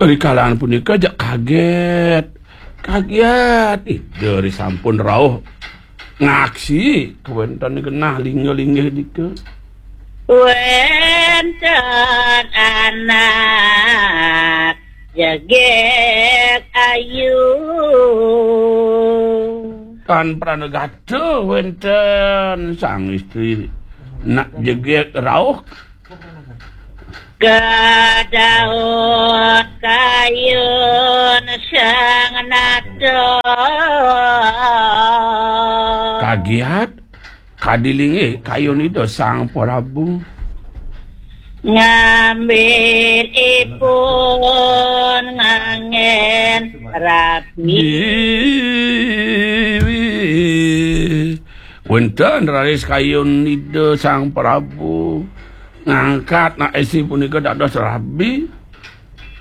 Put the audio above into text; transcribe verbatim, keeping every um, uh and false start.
Rikalahan punika jak kaget. Kaget. Ida ri sampun rauh ngaksi kawéntenan genah linggih-linggih nika. Wénten anak jegég ayu. Tan pranagata wénten sang istri nak jegég rauh. Kadaun kayun sang nata. Kagiat kadi linggih kayun Ida Sang Prabu. Ngambit ipun nganggén rabi. Wénten raris kayun Ida Sang Prabu ngangkat nak istri punika dados rabi.